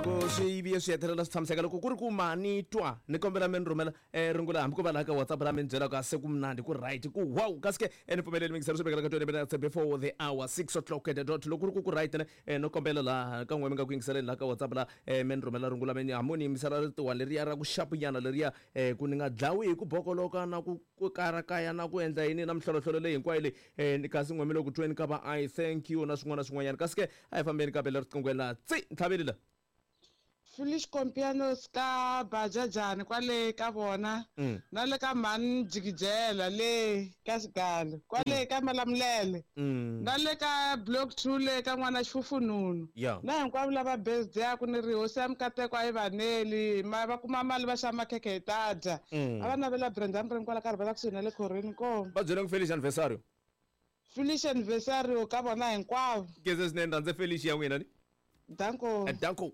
Ku swi vuye swi hetelela swi tshamiseka loko ku ri ku ma ni twa ni kombela mi ni rhumela um rungula hambi ko va laha ka WhatsApp laha mi ni byelaka se ku mnandzi ku right ku wow kasi ke ni pfumeleli mingiselo swi vekela ka 20 minutes before the hour 6 o'clock at the dot. Loko ku ri ku ku right ne no kombela laha ka n'we mi nga ku yingiseleni laha ka WhatsApp laha mi ni rhumela rungula mi ni hambi ni yingisela ritiwa leriya ra ku xapunyana leriya ku ni nga dlawi hi ku bokoloka na ku ku karakaya na ku endla yini na mihlolohlolo leyi hinkwayo leyi kasi n'we mi le ku tweni ka va I thank you na swin'wana na swin'wanyana. Kasi ke a hi fambeni ka bela riqingweni laha tsi ntlhaveli la. Foolish Compianos ka Bajajani kwale ka vona na le ka mhani Jikijela le ka Xigalo kwale ka Malamulele na le ka Block 2 le ka n'wana Xifufununu na hinkwavo lava birthday-aku ni ri hosi ya mikateko a yi va neli ma va kuma mali va xava makhekhe hi ta dya a va navela Brenda Murimi kwala ka Rivela kusuhi na le khorhweni inkomu. Va byele ku Felicia Anniversario. Felicia Anniversario ka vona hinkwavo. Khensa swinene rhandze Felicia ya n'wina ni. Danko. Danko.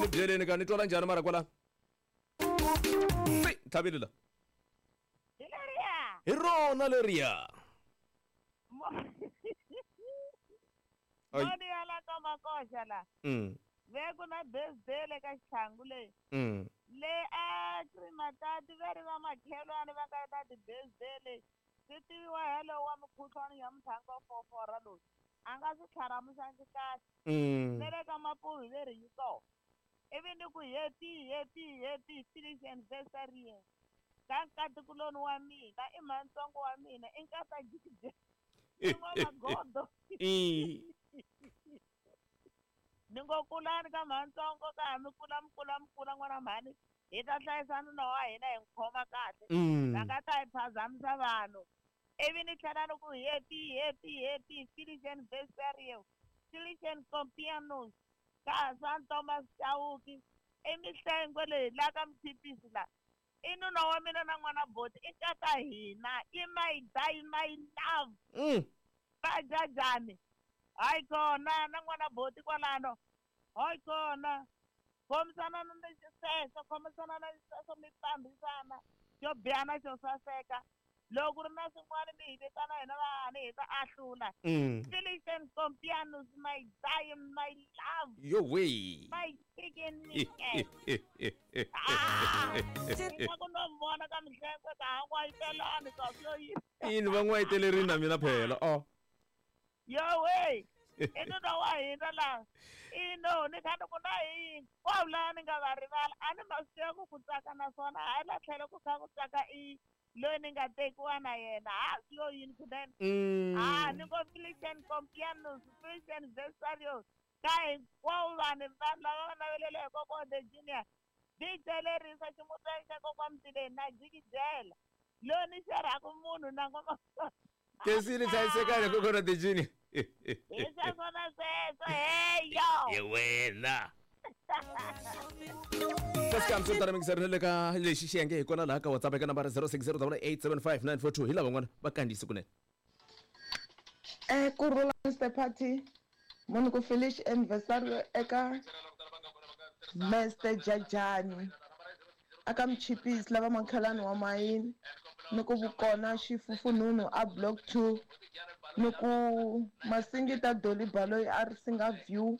Ni byeleni ka ni twala njhani mara kwala? Tsi, tlhavile la. Hi leriya. Hi rona leriya. Ai. Moni ya la ka makoxa la. Ve ku na birthday le ka xitlhangu leyi. Le a Krimatati ve ri va makhelwani va nga na ti-birthday leyi. Swi tiviwa hello wa mukhuhlwani ya muthangi wa fofora loyi. A nga swi tlharamuxangi kahle. Ne le ka Mapuhi ve ri yi kona. Ivi ni ku happy, happy, happy finish anniversary ye. Ka nkatikuloni wa mina, i mhantsongo wa mina, i nkata jikijela. I n'wamagodo. Ni ngo kulani ka mhantsongo ka ha mi kula mi kula mi kula n'wana mhani hi ta hlayisa nuna wa hina hi n'wi khoma kahle. Va nga ta hi phazamisa vanhu. Ivi ni tlhela ni ku happy, happy, happy finish anniversary ye. Felician Compianos ka Hasani Thomas Chauke i Mihlengo leyi la ka Mtshipisi la i nuna wa mina na n'wana boti i nkata hina i my die my love va jajani hayi kona na n'wana boti kwalano hayi kona khomisana na xisweswo khomisana na xisweswo mi fambisana xo biha na xo saseka loko ku ri na swin'wana mi hi vitana hina vahani hi ta ahlula. Felician Compianus my dying my love. Yo we. My chicken nugget. Ah! Ni ku no vona ka mihlengo ka ha n'wayitelani ka swo yini. Yini va n'wayitelerini na mina phela. Oh. Yo we. I nuna wa hina la. Ino ni kha ni ku na hinkwavo lava ni nga va rivala a ni ma swi tiva ku ku tsaka naswona hayi la tlhelo ku kha ku tsaka i loyi ni nga tekiwa na yena ha swi yo yini kunene ha ni ngo Felician Compianus Felician Vesarius ka hinkwavo vanhu vanhu lava va navelele hi kokwa the junior DJ lerisa ximutani xa kokwa Mtileni na jikijela loyi ni xerhaka munhu na ngoma Kesini hlayisekani kokwana the junior. Hi sweswo na sweswo heyo. Hi wena. Kasi kambe swo tala mingiseri na le ka lexi xiyenge hi kona laha ka WhatsApp eka nambara 0608875942 hi lava van'wana va kandziyise kunene. Ku rhula Mister Party munhu ku Felice anniversary eka Mister Jajani aka Mchipisi lava makhelwani wa mayini ni ku vukona xifufunhunhu a Block 2 ni ku Masingita Dolly Baloyi a ri singa view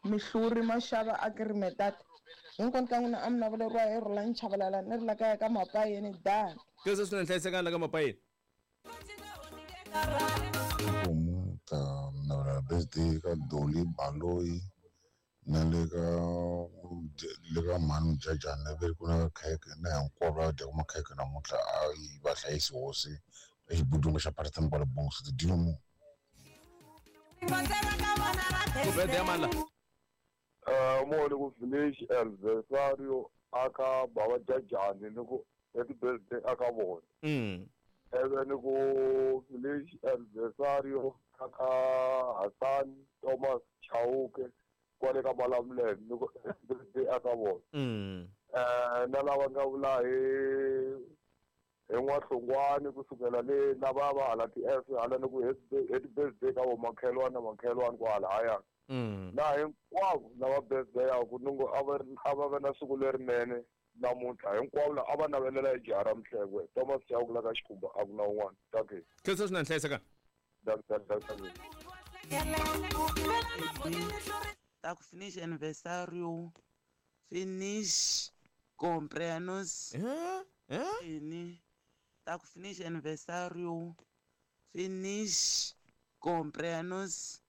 Mihluri Mashava a Kirimetata hinkwenu ka n'wina a mi naveleriwa hi Rhulani Chavalala ni ri la kaya ka Mapayeni done. Sweswo swi na nhlayisekani la ka Mapayeni. Tihomu ta navela birthday ka Dolly Baloyi na le ka le ka mhani Mujajana ve ri ku na khekhe na hinkwavo lava dyaka makhekhe namuntlha a yi va hlayisi hosi exibudunga xa Parton kwale Bongs ti dyile mu. Ku birthday ya mani la? Moni ku Village Anniversario aka Baba Jajani ni ku happy birthday aka vona. Eve ni ku Village Anniversario aka Hassan Thomas Chauke kwale ka Malamulele ni ku happy birthday aka vona. Na lava nga vula hi hi N'wahlongwani kusukela le lava va hala ti-F hala ni ku happy birthday ka vo makhelwani na makhelwani kwala haya. Na hinkwavo lava birthday ya ku ni ngo a va a va ve na siku lerinene namuntlha hinkwavo la a va navelela hi jaha ra Mhlengwe Thomas Chauke la ka Xikhumba a ku na un'wana. Dankie. Khensa swinene hlayiseka. Danko. Ta ku finish anniversario, finish cumpleaños. Ini. Ta ku finish anniversario, finish cumpleaños.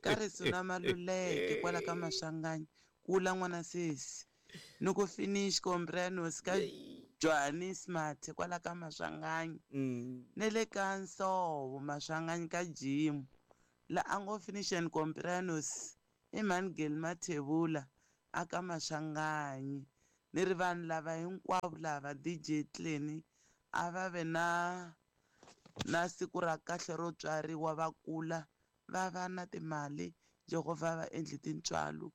Ka risuna Maluleke kwala ka Maswanganyi kula n'wana sesi. Ni ku finish cumpleaños ka Johannes Mathe kwala ka Maswanganyi. Ne le ka Nsovo Maswanganyi ka Jim. La a ngo finish and cumpleaños i Mangel Mathebula aka Maswanganyi. Ni ri vanhu lava hinkwavo lava DJ Clean a va ve na siku ra kahle ro tswariwa va kula va va na timali Jehovha va endli tintswalo.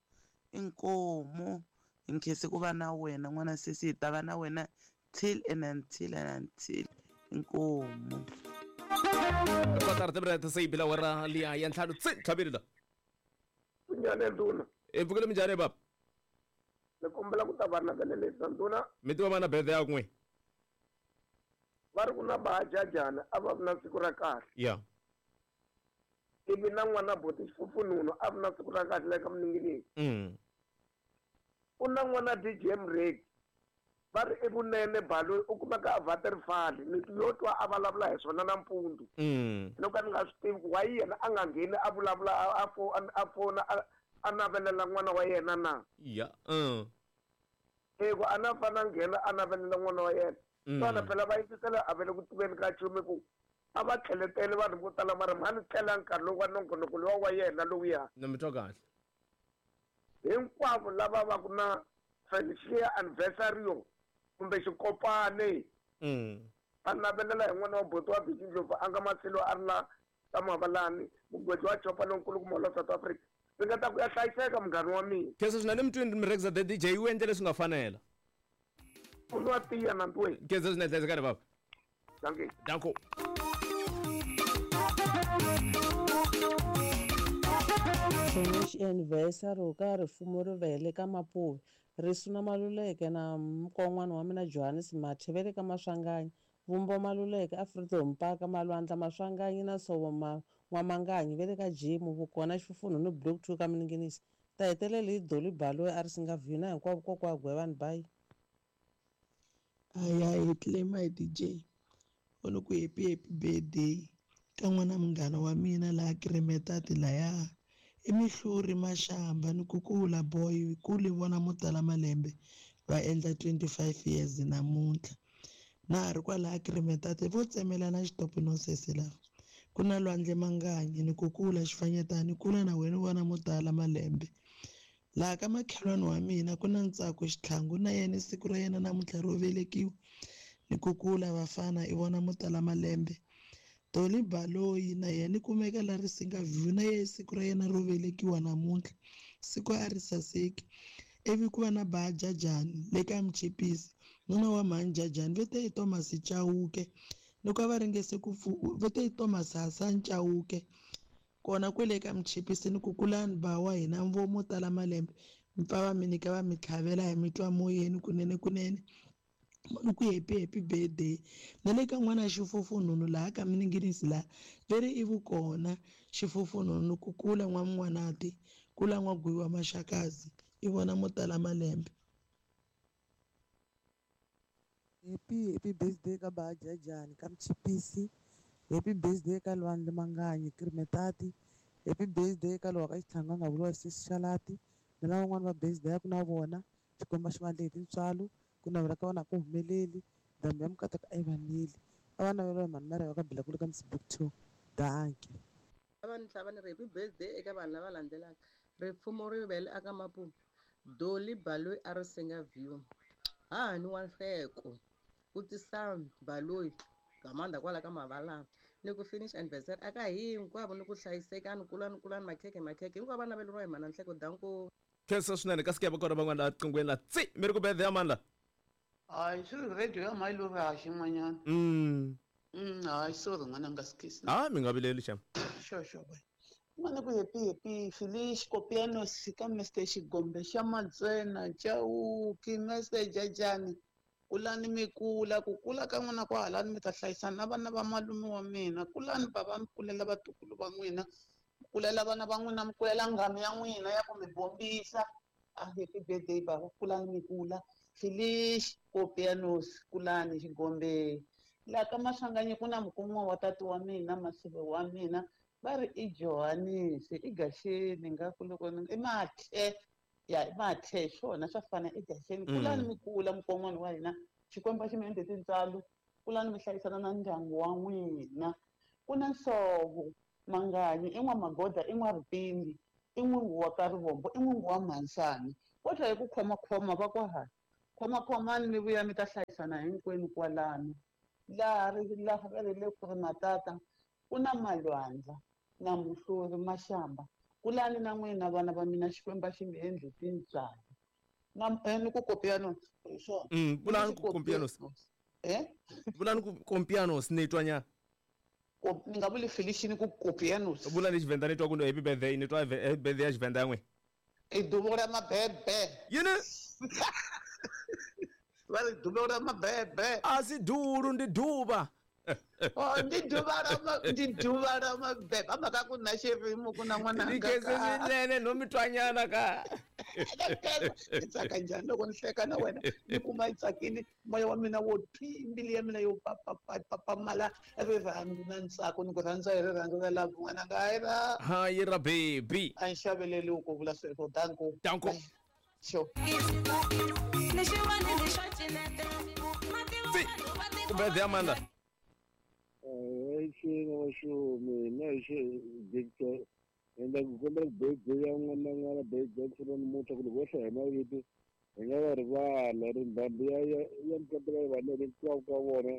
Inkomu hi nkhense ku va na wena n'wana sesi, hi ta va na wena till and until and until. Inkomu. Kotara timinete se yi bile awara liya ya ntlhanu tsi tlhavile la. Kunjani nduna? E pfukile minjhani baba? Ni kombela ku ta va navelelisa nduna. Mi tiva va na birthday ya kun'we? Va ri ku na Bahajajana a va vi na siku ra kahle. Ya. Ivi na n'wana buti Xifufununu a vi na siku ra kahle ka Mninginingi. U na n'wana DJ Mreki. Va ri i vunene Baloyi u kumeka a Waterfall ni yo twa a vulavula hi swona nampundzu. No ka ni nga swi tivi ku why yena a nga ngheni a vulavula a fona a navelela n'wana wa yena na. Ya. Ku a na fana nghena a navelela n'wana wa yena. Swona phela va yingisela a vele ku tiveni ka nchumu ku a va tlheletele vanhu vo tala mara mhani tlela nkarhi lowu wa nongonoko lowa wa yena lowuya. Na mi twa kahle. Hinkwavo lava va ku na Felicia anniversario kumbe xikopane. A navelela hi n'wana wa buti wa Biki Ndlovu a nga Masilo a ri la ka Mavalani mugwedzi wa chopa lonkulu kuma la South Africa. Ndzi nga ta ku ya hlayiseka munghana wa mina. Khensa swinene mutwini Mrekza the DJ u endle leswi nga fanela. U nwa tiya na ntweni. Khensa swinene hlayisekani baba. Dankie. Danko. Finish anniversary ka rifumo ri vele ka Mapuve. Risuna Maluleke na mukon'wana wa mina Johannes Mathe ve le ka Maswanganyi. Vumbo Maluleke a Freedom Park Malwandla Maswanganyi na Sovo N'wamanganyi ve le ka Jimu Vukona Xifufunhu ni Block 2 ka Mninginisi. Ta hetelela hi Dolly Baloyi a ri singa view na hinkwavo kokwa Gwevani bayi. Aya hi claim hi DJ. U ni ku happy happy birthday ka n'wana munghana wa mina laha Kremetati laya. I Mihluri Mashamba ni ku kula boy kule vona mo tala malembe va endla 25 years namuntlha. Na ha ri kwalaya Kremetati vo tsemelana xitopo no sesi lava. Ku na Lwandle Manganyi ni ku kula xifanyetana kula na wena vona mo tala malembe. Laha ka makhelwani wa mina ku na Ntsako Xitlhangu na yena siku ra yena namuntlha ro velekiwa. Ni ku kula vafana i vona mo tala malembe. Toli Baloyi na yena kumeka la Risinga View na yena siku ra yena ro velekiwa namuntlha. Siku a ri saseki. Ivi ku va na Bahajajani le ka Mchipisi nuna wa mhani Jajani ve te i Thomas Chauke loko a va ringese ku ve te i Thomas Hassan Chauke kona kwele ka Mchipisi ni ku kulani ba wa hina mvo mo tala malembe mpfa va mi nyika va mi tlhavela hi mitwa moyeni kunene kunene. Ni ku happy happy birthday na le ka n'wana Xifufununu laha ka Mninginisi laha veri i vukona Xifufununu ku kula n'wan'wanati kula n'wagwiwa Maxakazi i vona mo tala malembe. Happy happy birthday ka Bahajajani ka Mchipisi. Happy birthday ka Lwandle Manganyi Kremetati. Happy birthday ka lowa ka Xitlhangu a nga vuriwa Sesi Xalati na lavan'wana va birthday ya ku na vona Xikwembu xi va endle hi tintswalo ku navela ka vona ku humeleli ndhambi ya mukataka a yi vaneli a va naveriwa hi mhani Mariya va ka Bilakulu ka Msibuk 2. Dankie. Va ni tlhava ni ri happy birthday eka vanhu lava landzelaka. Rifumo ri vele aka Mapuve. Dolly Baloyi a ri singa view. Hahani wa Nhleko u tisa Baloyi Gamanda kwala ka Mavalani. Ni ku finish anniversary aka hinkwavo ni ku hlayisekani kulani kulani makhekhe makhekhe hinkwavo va naveleriwa hi mhana Nhleko. Danko. Khensa swinene kasi ke va kona van'wana laha qingweni la tsi mi ri ku birthday ya mani la? Hayi swi radio ya mhani loyi ha xin'wanyana. Hayi sorry n'wana nga sikisi. Ah mi nga vileli xem. Sure sure boy. N'wana ku happy happy Felice Kopianos ka Mr Xigombe xa Matsena Chauke Mr Jajani. Kulani mi kula, ku kula ka n'wina kwahalani mi ta hlayisana na vana va malume wa mina. Kulani bava mi kulela vatukulu va n'wina, mi kulela vana va n'wina, mi kulela nghamu ya n'wina ya ku mi bombisa. A happy birthday baba, kulani mi kula. Felice Kopianos, kulani Xigombe. Laha ka Maswanganyi ku na mukumiwa wa tati wa mina, masive wa mina, va ri i Johannes, i Gaxeni nga ku loko i Mathe. Ya i Mathe swona swa fana i Gaxeni. Kulani mi kula mukon'wana wa hina, Xikwembu a xi mi endle tintswalo. Kulani mi hlayisana na ndyangu wa n'wina. Ku na Nsovo Manganyi, i N'wamagoda, i N'waripindi, i n'wingu wa ka Rivombo, i n'wingu wa Mhansani. Vo tlhela hi ku khomakhoma va ku ha khomakhomani mi vuya mi ta hlayisana hinkwenu kwalano. Laha laha va ri le ku ri matata ku na malwandla na muhluri Mashamba. Kulani na n'wina vana va mina, Xikwembu a xi mi endli tintswalo. Na ni ku Kopianos hi swona. Vulani ku Kopianos. Vulani ku Kopianos ni twa nyana. Ni nga vuli Felice ni ku Kopianos. Vula ni Xivenda ni twa ku happy birthday, ni twa happy birthday ya Xivenda n'we. I duvo ra mabebe. Yini? Va ri duvo ra mabebe. A si dulu ndi duva. Oh, ndi duva ra ndi duva ra mabebe. A mhaka ku na xirimu ku na n'wana Ni khense swinene no mi twanyana ka. Ni tsaka njhani loko ni hleka na wena, ni kuma yi tsakile, moya wa mina wo thwi, mbilu ya mina yo papamala rirhandzu na ntsako, ni ku rhandza hi rirhandzu ra love n'wananga. Hayi ra. Hayi ra baby. A ni xaveleli ku vula sweswo. Danko. Danko. Sure. Ku birthday Amanda. Endla ku kombela birthday ya n'wana n'wana birthday ya namuntlha ku loko wo hlaya hi mavito hi nga va rivala ri ndhambi ya ya ya mukambela vana hinkwavo ka vona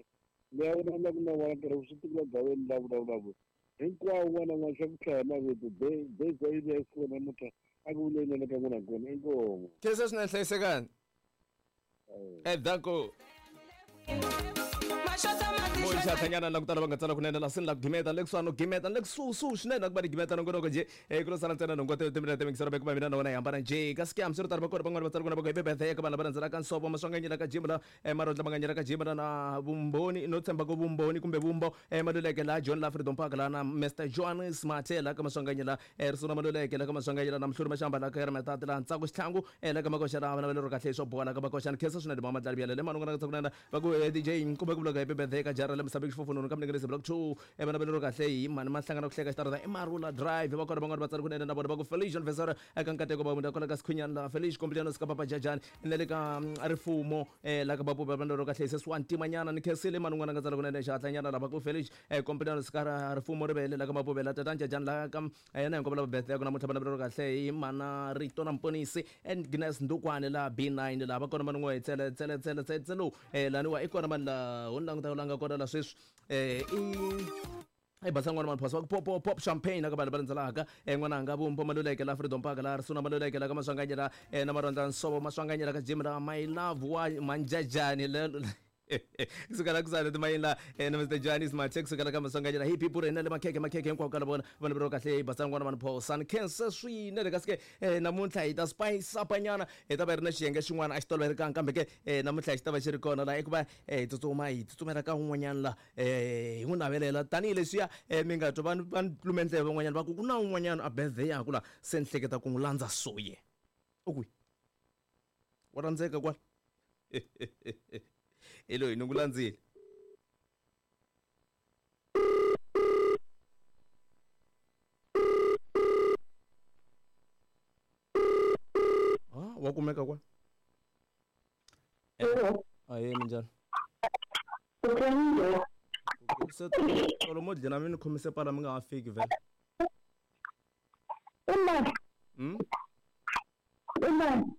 leyi a vulavulaka na vona nkarhi swi tikula gaveni la vulavulaka hinkwavo n'wana n'wana xa ku hlaya hi mavito birthday yi ya siku namuntlha a ku vuleni ka n'wina kona inkomu. Khensa swinene hlayisekani. Danko. Moxathanyana la ku tala va nga tsala kunene la sini la ku gimeta le kusuhani no gimeta le kusuhi swinene ku va ni gimeta nongonoko njhe ku lo sala ntsena nhungu timinete mingiselo ku va mina na wena hi hambana njhe kasi ke hambiswiritano va kona van'wana va tsala kuna va ku happy birthday eka vanhu lava landzelaka Nsovo Maswanganyi la ka Jim la Marondla Manganyi la ka Jim la na Vumbhoni no tshemba ku Vumbhoni kumbe Vumbo Maluleke la John la Freedom Park la na Mr Johannes Mathe la ka Maswanganyi la Risuna Maluleke la ka Maswanganyi la na Mhluri Mashamba la ka Matati la Ntsako Xitlhangu la ka Makoxa la vana va lero kahle swo boha la ka Makoxa ni khensa swinene mama Dlali Biyele le manungana ka tsakunana va ku DJ kumbe ku vula happy birthday ka jara la Msabeki Xifofononi ka Mningelezi Block 2 vana va lero kahle hi mani ma hlangana ku hleka xitarata i Marula Drive va kona van'wana va tsala kunene na vona va ku Felice Anniversary eka nkateko va munda kwala ka Sikhunyana la Felice Complianos ka Papa Jajani na le ka Rifumo la ka Bapupa va lero kahle se swantimanyana ni khensile manungana ka tsala kunene xihatlanyana la va ku Felice Complianos ka Rifumo Rivele la ka Mapupe la Tatana Jajani la ka yena hinkwavo lava birthday ku namuntlha vana va lero kahle hi mana Rito na Mponisi and Gnes Ndukwane la B9 la va kona manun'we hi tsele tsele tsele tsele tsele laniwa i kona mani la ho ni languta la nga kona la sweswi i basa n'wana mani phasa va ku pop pop pop champagne aka vanhu va landzelaka n'wananga Vumbo Maluleke la Freedom Park la Risuna Maluleke la ka Maswanganyi la na Marondla Nsovo Maswanganyi la ka Jim la My Love wa Manjajani le kusuka la kusana timayini la na Mr Johannes Mathe kusuka la ka Maswanganyi la hi pipu rena le makhekhe makhekhe hinkwako ka la vona vanhu va kahle hi basa n'wana mani phosa ni khensa swinene kasi ke namuntlha hi ta spice up nyana hi ta va ri na xiyenge xin'wana a xi tolovelekanga kambe ke namuntlha xi ta va xi ri kona la i ku va hi tsutsuma hi tsutsumela ka un'wanyana la hi n'wi navelela tanihileswiya mi nga twa va ni lume ndleve van'wanyana va ku ku na un'wanyana a birthday yaku la se ni hleketa ku n'wi landza soye u kwihi wa rhandzeka kwala hi loyi ni ku landzile. Wa kumeka kwala ahee minjhani se tolo mo dlina mi ni khomise pala mi nga ha fiki vhele.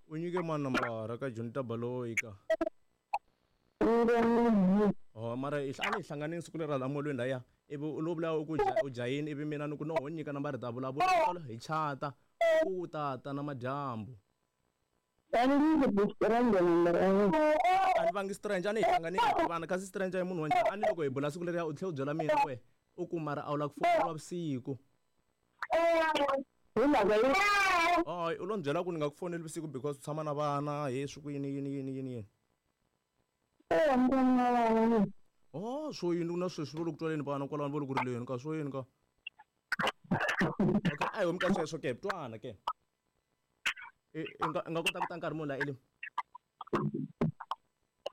U nyike mani nambara ka Jonita Baloyi ka oh mara a ni hi hlanganini siku leri hala molweni laya ivi u lo vula u ku u jahini ivi mina ni ku no ho nyika nambara hi ta vulavula hi chata u ta ta na madyambu. A ni vangi stranger a ni hi hlanganini hi tivana kasi stranger i munhu wa njhani a ni loko hi bula siku leriya u tlhela u byela mina we u ku mara a wu lava ku foneriwa vusiku. Hayi u lo ni byela ku ni nga ku foneli vusiku because u tshama na vana he swi ku yini yini yini yini yini. Oh, swo yini na sweswi vo le ku twaleni vana kwalano vo le ku rileni ka swo yini ka. Okay, a hi humi ka sweswo ke twana ke. I nga kota ku ta nkarhi muni la Elim?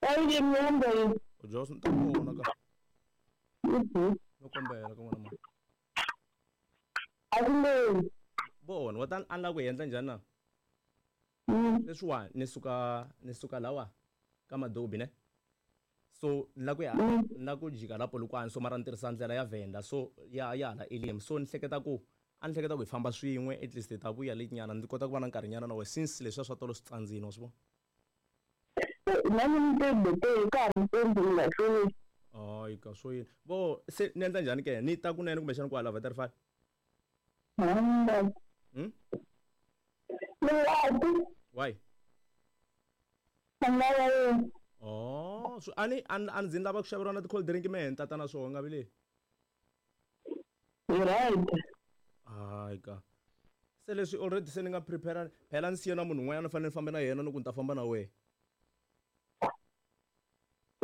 Elim yombe. Jos ni ta vona ka. No kombela ka n'wana mani. Vona wa ta a ni lava ku hi endla njhani na? Leswiwani ni suka lawa ka Madobi ne. So ni la ku ya ni la ku jika la Polokwane so mara ni tirhisa ndlela ya Venda so ya ya hala Elim so ni hleketa ku a ni hleketa ku hi famba swin'we at least hi ta vuya late nyana ndzi kota ku va na nkarhi nyana na wena since leswiya swa tolo swi tsandzini wa swi vona. Na ni mi ka ha ri mpundzu mi nga hlweli. Hayi ka swo yini vo se ni endla njhani ke ni ta kunene kumbexana kwala Waterval? Ni nga ti. Why? Ni nga ya yini? Oh, so ani ani ani ndzi lava ku xaveriwa na ti-cold drink mehe ni tata na swona nga vileli. Hi right. Hayi ka. Se leswi already se ni nga prepare phela ni siye na munhu un'wanyana ni fanele ni famba na yena ni ku ni ta famba na wehe.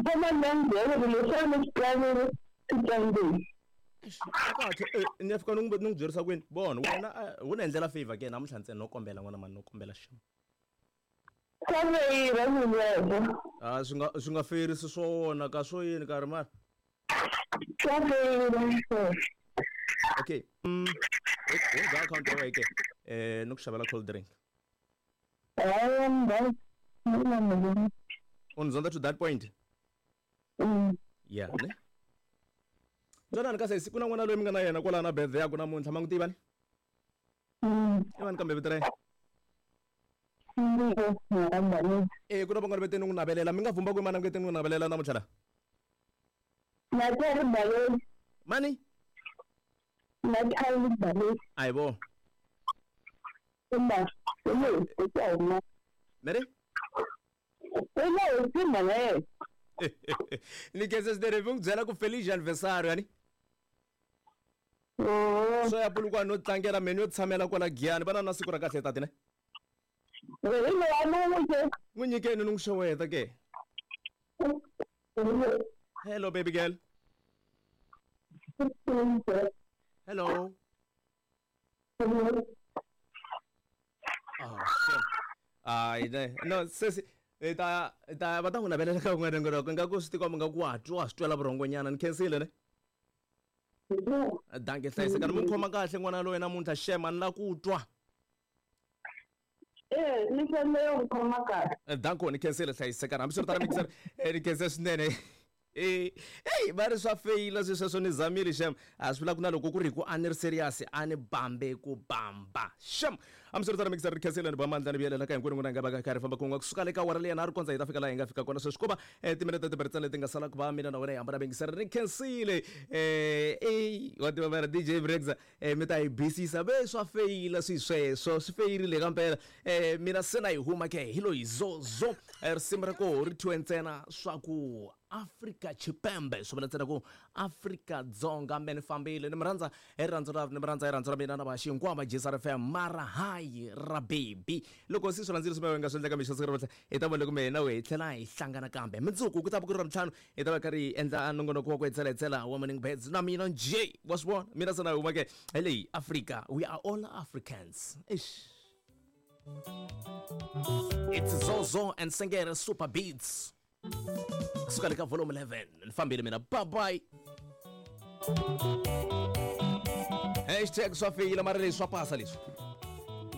Famba ni ya ni byela ku leswi a ni swi planile swi tsandzile. Kahle ni ya fika ni n'wi byerisa ku yini vona wena wo ni endlela favor ke namuntlha ntsena no kombela n'wana mani no kombela xem. Swa feyila sweswo. A swi nga feyirisi swona ka swo yini karhi mara. Swa feyila sweswo. Okay. Hundza account ya wena ke ni ku xavela cold drink. U ni zonda to that point? Yeah, ne? Twanani ka sesi ku na n'wana loyi mi nga na yena kwalaho na birthday yaku namuntlha ma n'wi tiva ni? I mani kambe vito ra yena? E ku na van'wana ve te ni n'wi navelela mi nga vhumba ku i mani a nge te ni n'wi navelela namuntlha la? Mani? A hi vo. Mary? Ni khensa swinene mi n'wi byela ku feliz aniversario yani. Swo ya Polokwane no tlangela me ni yo tshamela kwala Giyani va na siku ra kahle tati ne. N'wi nyikeni ni n'wi xeweta ke. Hello baby girl. Hello. Oh, shit. Hayi ne. No sesi hi ta hi ta va ta n'wi navelela ka un'wana nongonoko ingaku swi tikomba nga ku wa twa swi twela vurhongonyana ni khensile ne. Danke hlayiseka ni mu khoma kahle n'wana loyi namuntlha xem a ni la ku twa. Eh, ni fanele ku khoma kahle. Danko ni khensile hlayisekana hambiswiritano mixer ni khense swinene. Eh, hey, va ri swa feyila swi sweswo ni zamile xem a swi vula ku na loko ku ri hi ku a ni ri serious a ni bambe ku bamba xem hambiswiritano mixer ri khensile ni ba mandla ni vuyelela ka hinkwenu n'wina hi nga va ka karhi famba kun'we kusuka le ka awara leyi na ri kondza hi ta fika laha hi nga fika kona sweswi ko va timinete timbirhi ntsena leti nga sala ku va mina na wena hi hambana mingiseri ri khensile eh wa tiva mara DJ Brexa mi ta hi bisisa ve swa feyila swi sweswo swi feyirile kampela mina se na yi huma ke hi loyi zozo risimu ra koho ri thyiwe ntsena swa ku Afrika Tshipembe swi vula ntsena ku Afrika Dzonga me ni fambile ni mi rhandza hi rirhandzu ra ni mi rhandza hi rirhandzu ra mina na va xinkwama JSR FM mara hayi ra baby loko se swi rhandzile swi nga swi endleka mixo siku ra namuntlha hi ta vona loko mehe na wehe hi tlhela hi hlangana kambe mundzuku ku ta va ku ri Ravuntlhanu hi ta va karhi hi endla nongonoko wa ku hetselahetsela wa Morning Birds na mina njhe wa swi vona mina se na huma ke hi leyi Africa we are all Africans eish It's Zozo and Sengere Super Beats kusuka le ka volume 11 ni fambile mina bye bye hashtag swa feyila mara leswi swa pasa leswi.